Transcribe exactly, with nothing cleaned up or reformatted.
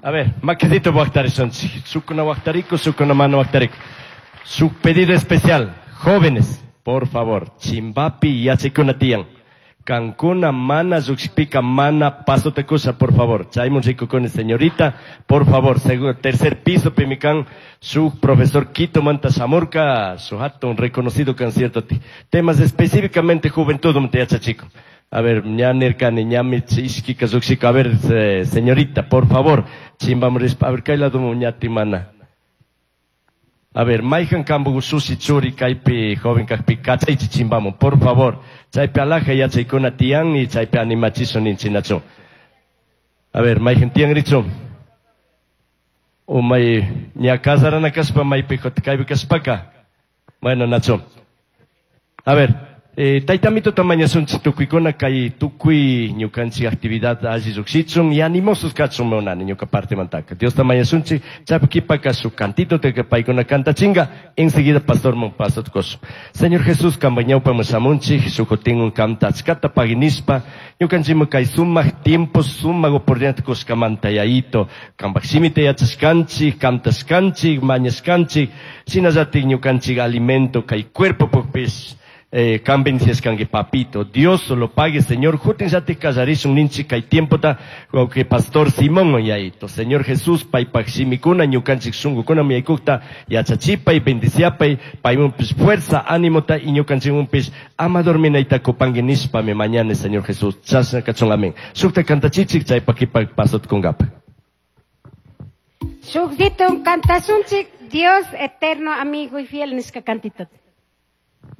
A ver, makisito waqtarishunchik. Shukuna waqtariku, shukuna mana waqtariku. Su pedido especial, jóvenes, por favor, chimbapi yachaykuna tiyan. Kankuna mana llukshipika mana pasota kusha, por favor. Chaymun rikukuni señorita, por favor, segundo, tercer piso pimi kan, su profesor Quito manta shamurka, su hatun reconocido concierto. Temas específicamente juventud manta yachachikun. A ver, ña nirkani, ñami ishkika llukshika. A ver, eh, señorita, por favor, chimbamun rishpa. A ver, kay lado ñati mana. A ver, mayhan kanpaj ushushi churi kaypi joven kajpi kachaychi chimbamun, por favor. Chaypi alaja yachaykuna tiyan y chaypi animachishun ninchik nachu. A ver, mayhan tiyanrichu. O may ña kasarana kashpa maypi kaypi kashpaka. Bueno, nachu. A ver, eh, tayta mañashunchik tukuykuna kay tukuy ñukanchik actividad alli llukshichun y animosos kachun munani ñuka partemantaka. Diosta mañashunchik chaypi kipaka shuk cantito te paykuna kantachinga enseguida pastor man pasota kushun. Señor Jesús kanpak ñawpaman shamunchik shukutin kamta achkata pagui nishpa ñukanchikman kay sumak tiempo sumak oportunidad kushkamanta yayito kanpak shimita yachashkanchik kantashkanchik mañashkanchik shinallatik ñukanchik alimento kay cuerpo pukpish eh, kan bendiciashkanki papito. Dios lo pague, Señor. Kutinllatik kallarishun ninchik kay tiempota que pastor Simón yayito. Señor Jesús, paypak shimikuna ñukanchik shunkukuna yaykukta yachachipay, bendiciapay, paymunpish fuerza, ánimota y ñukanchikmunpish ama dorminayta kupanki nishpami mañana, Señor Jesús. Chashna kachun, amén. Shukta kantachichik chaypak kipa pasota kunkapa. Shukdito kantashunchik Dios eterno amigo y fiel nishka cantito.